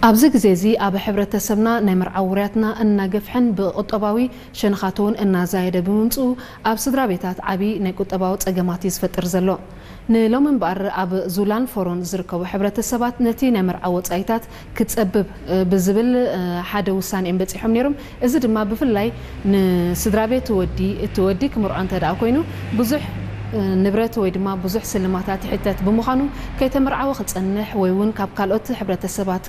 ኣብዚ ግዜ እዚ ኣብ ሕብረተሰብና ናይ መርዓ ውርያትና እናገፍሐን ብቁጠባዊ ሸነኻት እውን እናዛየደ ብምምፅኡ ኣብ ስድራ ቤታት ዓብዪ ናይ ቁጠባዊ ፀገማት እዩ ዝፈጥር ዘሎ። ንሎሚ እምበኣር ኣብ ዙላን ፎሮን ዝርከቡ ሕብረተሰባት ነቲ ናይ መርዓ ወፃኢታት ክፀብብ ብዝብል ሓደ ውሳኔ እዮም በፂሖም ነይሮም። እዚ ድማ ብፍላይ ንስድራ ቤት ወዲ እቲ ወዲ ክምርዖ እንተ ደኣ ኮይኑ ብዙሕ ንብረት ወይ ድማ ብዙሕ ስልማታት ይሕተት ብምዃኑ ከይተመርዓወ ክፀንሕ ወይ እውን ካብ ካልኦት ሕብረተሰባት